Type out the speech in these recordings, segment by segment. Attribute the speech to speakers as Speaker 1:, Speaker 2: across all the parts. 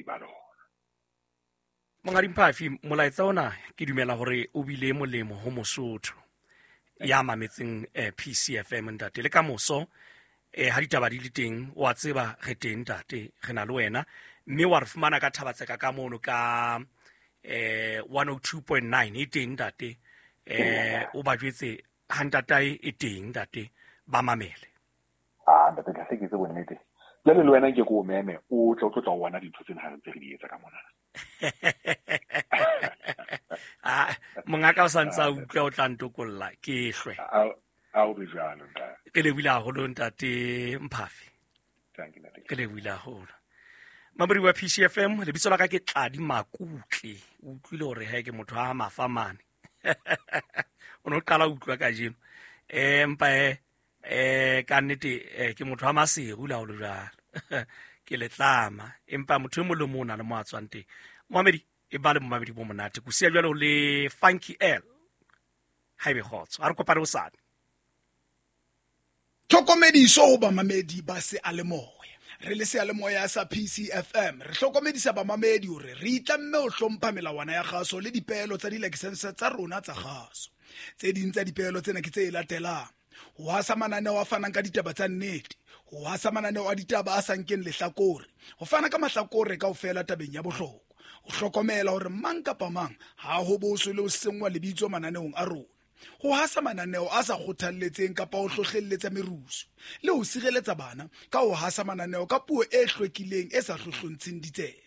Speaker 1: Batsamaisi ba lona.
Speaker 2: Monghadi Mphafi, molaetsa ona ke dumela hore o bile molemo ho Mosotho ya mametseng PCFM ntate. Le ka moso ha ditaba di le teng, wa tseba re teng ntate, re na le wena, mme wa re fumana ka Thabatseka ka mono ka 102.9 e teng ntate. O ba jwetse ha ntatae e teng ntate, ba mamele.
Speaker 1: Ah, ntate Tlase, ke tse bonnete. Jwale le wena nke ke o meme, o tle o tlo tla o bona dintho tsena ha re ntse re di etsa ka mona.
Speaker 2: Ah, mongaka o sa ntse a utlwa, o tla ntokolla ke hlwe.
Speaker 1: A o be jwalo, ntate.
Speaker 2: Ke lebohile haholo ntate Mphafi.
Speaker 1: Thank you, ntate.
Speaker 2: Ke lebohile haholo. Mamodi wa PCFM, lebitso la ka ke Tladi Makutle. O utlwile hore he ke motho a mafa mane. O no qala ho utlwa kajeno. Empa ka nnete ke motho wa Maseru la ho le jwalo. Ke letlama, empa motho e mong le mong o na le mo a tswang teng. Moamedi, e ba le momamedi bo monate. Ko siya jwalo le Funky L. Ha ebe kgotso. Ha re kopane hosane.
Speaker 3: Tlhokomediso ho bamamedi ba seyalemoya. Re le seyalemoya sa PCFM, re hlokomedisa bamamedi hore re itlamme ho hlompha melawana ya kgaso le dipeelo tsa dilakesense tsa rona tsa kgaso. Tse ding tsa dipeelo tsena ke tse latelang: ho hasa mananeo a fanang ka ditaba tsa nnete, ho hasa mananeo a ditaba a sa nkeng lehlakore, ho fana ka mahlakore kaofela tabeng ya bohlokwa, ho hlokomela hore mang kapa mang ha ho boswe le ho senngwa lebitso mananeong a rona, ho hasa mananeo a sa kgothalletseng kapa ho hlohlelletsa merusu, le ho sireletsa bana ka ho hasa mananeo ka puo e hlwekileng e sa hlohlontsheng ditsebe.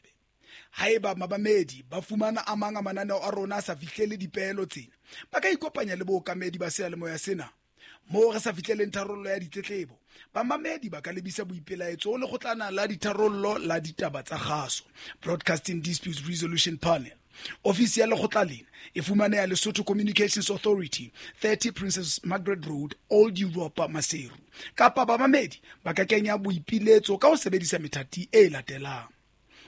Speaker 3: Haeba mamamedi ba fumana a mang a mananeo a rona a sa fihlele dipeelo tsena, ba ka ikopanya le bookamedi ba seyalemoya sena. Moo re sa fihleleng tharollo ya ditletlebo, bamamedi ba ka lebisa boipelaetso ho lekgotlana la ditharollo la ditaba tsa kgaso, Broadcasting Disputes Resolution Panel. Ofisi ya lekgotla lena e fumaneha Lesotho Communications Authority, 30 Princess Margaret Road, Old Europa, Maseru. Kapa bamamedi ba ka kenya boipiletso ka ho sebedisa methati e latelang: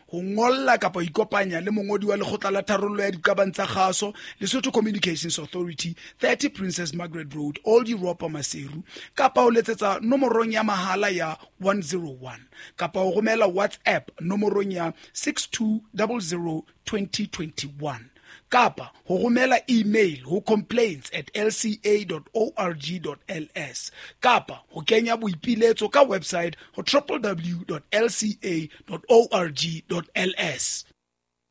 Speaker 3: ho ngolla kapa ho ikopanya le mongodi wa lekgotla la tharollo ya diqabang tsa kgaso, Lesotho Communications Authority, 30 Princess Margaret Road, Old Europa, Maseru, kapa ho letsetsa nomorong ya mahala ya 101, kapa ho romela WhatsApp nomorong ya 6200 2021, kapa ho romela email ho complaints@lca.org.ls, kapa ho kenya boipiletso ka website ho www.lca.org.ls.